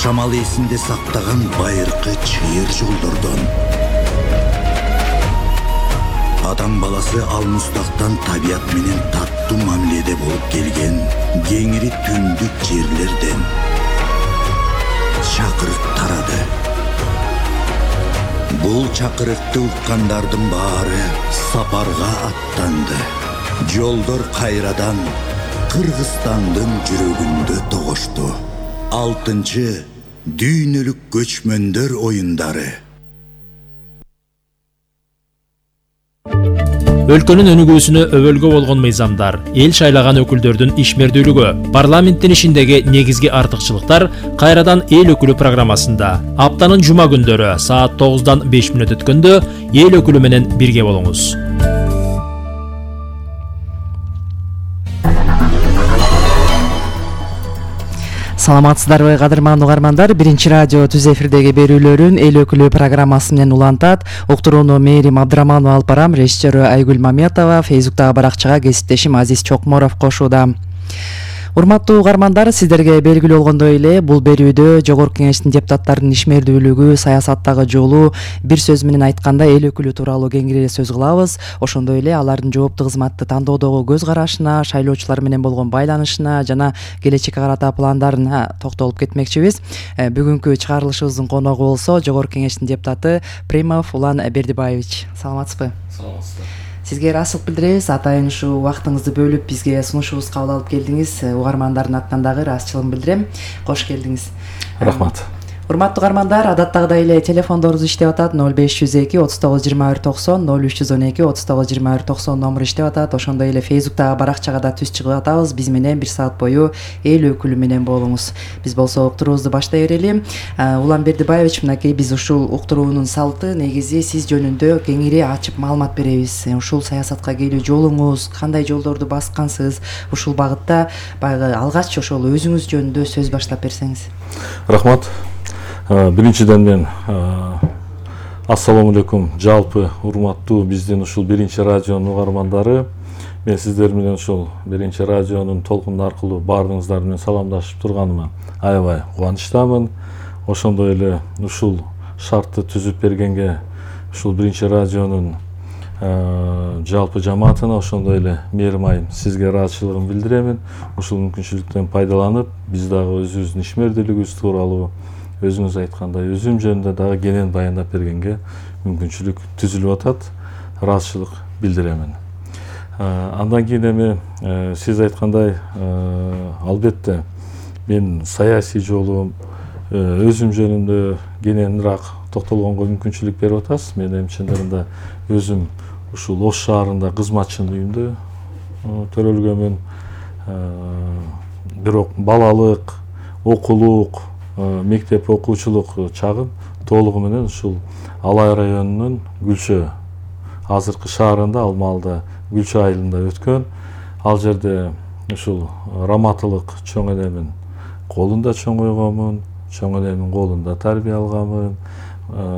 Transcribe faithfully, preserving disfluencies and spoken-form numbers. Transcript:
Шамал эсинде сактаган байыркы чыйыр жолдордон. Адам баласы алмустактан табият менен таттуу мамиледе болуп келген кеңири түндүк жерлерден чакырык тарады. Бул чакырыкты уккандардын баары сапарга аттанды. Жолдор кайрадан Кыргызстандын жүрөгүндө тогошту. Алтынчы дүйнөлүк көчмөндөр оюндары. Өлкөнүн өнүгүүсүнө өбөлгө болгон мыйзамдар, эл шайлаган өкүлдөрдүн ишмердүүлүгү, парламенттин ишиндеги негизги артыкчылыктар кайрадан эл өкүлү программасында. Аптанын жума күндөрү саат тогуздан беш мүнөт өткөндө эл өкүлү менен бирге болуңуз. Саламатсыздарбы, кадырман угармандар. Биринчи радио түз эфирдеги берүүлөрүн эл өкүлү программасы менен улантат. Уктурууну Мээрим Абдыраманова алып барам, режиссеру Айгүл Мамиятова, Фейсбуктагы баракчага кесиптешим Азиз Чокморов кошууда. Урматтуу угармандар, сиздерге белгилүү болгондой эле бул берүүдө Жогорку Кеңештин депутаттарынын ишмердүүлүгү, саясаттагы жолу, бир сөз менен айтканда эл өкүлү тууралуу кеңири сөз кылабыз. Ошондой эле алардын жооптуу кызматты тандоодогу көз карашына, шайлоочулар менен болгон байланышына жана келечекке карата пландарына токтолуп кетмекчибиз. Бүгүнкү чыгарылышыбыздын коногу болсо Жогорку Кеңештин депутаты Примов Улан Бердибаевич. Саламатсызбы? Саламатсыздар. Сизге ыраазычылык билдиребиз. Атайын ушу убактыңызды бөлүп бизге сунушубузду кабыл алып келдиңиз. Угармандардын атынан дагы ыраазычылыгымды билдирем. Кош келдиңиз. Рахмат. Урматтуу угармандар, адаттагыдай эле телефондорубуз иштеп атат. ноль беш жүз эки отуз тогуз жыйырма бир токсон, ноль үч жүз он эки отуз тогуз жыйырма бир токсон номуру иштеп атат. Ошондой эле Фейсбуктагы баракчага да түз чыгып атабыз. Биз менен бир саат бою эл өкүлү менен болуңуз. Биз болсо уктуруубузду баштай берели. Улан Бердибаевич, мынакей биз ушул уктуруунун салты негизи сиз жөнүндө кеңири ачып маалымат беребиз. Ушул саясатка келүү жолуңуз, кандай жолдорду баскансыз, ушул багытта баягы алгач ошол өзүңүз жөнүндө сөз баштап берсеңиз. Рахмат. Биринчиден мен ассаламу алейкум жалпы урматтуу биздин ушул биринчи радионун угармандары. Мен сиздер менен ушул биринчи радионун толкуну аркылуу баарыңыздар менен саламдашып турганыма аябай кубанычтамын. Ошондой эле ушул шартты түзүп бергенге ушул биринчи радионун жалпы жамаатына, ошондой эле Мээрим айым сизге ыраазычылыгымды билдиремин. Ушул мүмкүнчүлүктөн пайдаланып, биз дагы өзүбүздүн ишмердүүлүгүбүз тууралуу, өзүңүз айткандай өзүм жөнүндө дагы кенен баяндап бергенге мүмкүнчүлүк түзүлүп атат. Ыраазычылык билдиремин. Андан кийин эми сиз айткандай, албетте мен саясий жолум, өзүм жөнүндө кененирээк токтолгонго мүмкүнчүлүк берип атасыз. Мен эми чындыгында өзүм ушул Ош шаарында кызматчын үйүндө төрөлгөмүн. Бирок балалык, окуулук, мектеп окуучулук чагым толугу менен ушул Алай районунун Гүлчө, азыркы шаарында, ал маалда Гүлчө айылында өткөн. Ал жерде ушул раматылык чоң энемин колунда чоңойгонмун, чоң энемин колунда тарбия алганмын.